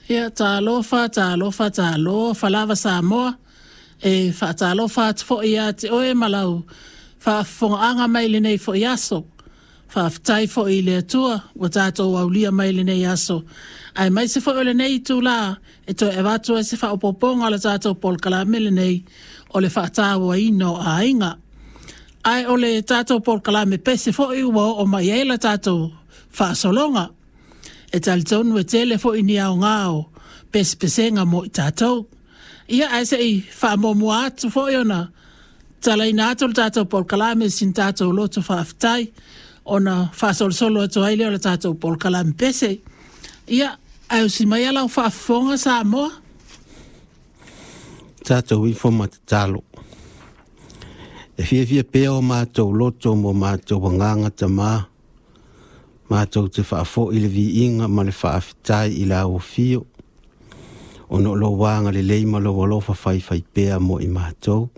Ia, talofa, talofa, talofa lava Samoa. E faatalofa atu foi ia te oe ma lau faafofogaaga mai lenei foi aso. Faafetai foi i le Atua ua tatou aulia mai lenei aso, aemaise foi o lenei itulā e toe avatu ai se faaopoopoga o le tatou polokalame lenei o le faatauaina o aiga. Ae o le tatou polokalame pese foi ua oo mai ai la tatou faasologa. E talitonu e tele foi ni aoga o pesepesega mo i tatou. Ia, ae se i faamuamua atu foi ona talaina atu le tatou polokalame sina tatou loto faafetai ona faasolosolo atu ai lea o le tatou polokalame pese. Ia, ae usi mai lau faafofoga Samoa. Tatou ifo ma tatalo. E fiafia pea o matou loto mo matou agaga Tamā, matou te faafoi le viiga ma le faafetai i lau afio, ona o lou agalelei ma lou alofa faifaipea mo i matou.